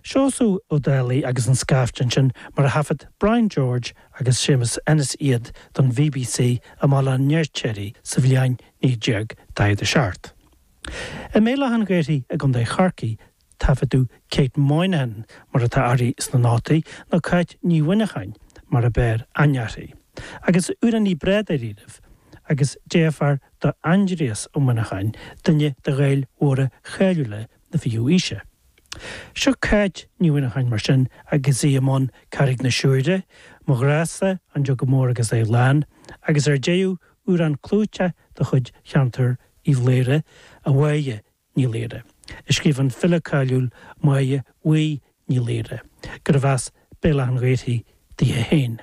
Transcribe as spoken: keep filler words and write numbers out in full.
Seosamh Ó Dálaigh agus an Scaifte ansin mar a thaifead Brian George agus Séamus Ennis iad don BBC i mBaile an Fheirtéaraigh sa bhliain naoi déag daichead a seacht. I mBéal Átha an Ghaorthaidh i gContae Chorcaí taifeadadh Kate Moynihan mar atá uirthi sna nótaí nó Cáit Ní Mhuineacháin mar a b'fhearr aithne uirthi. Agus amhránaí breá dáiríribh agus deirfiúr do Aindrias Ó Muineacháin, duine de Ghaeil mhóra cháiliúla na fichiú aoise. Seo Cáit Ní Mhuineacháin mar sin agus í i mbun Carraig na Siúire, Mo Ghrá-sa, An Jug Mór agus é Lán, agus ar deireadh amhrán clúiteach de chuid cheantar Uíbh Laoghaire, A Mháire Ní Laoghaire, a scríobh an file cáiliúil Máire Bhuí Ní Laoghaire, gurbh as Béal Átha an Ghaorthaidh dithe féin.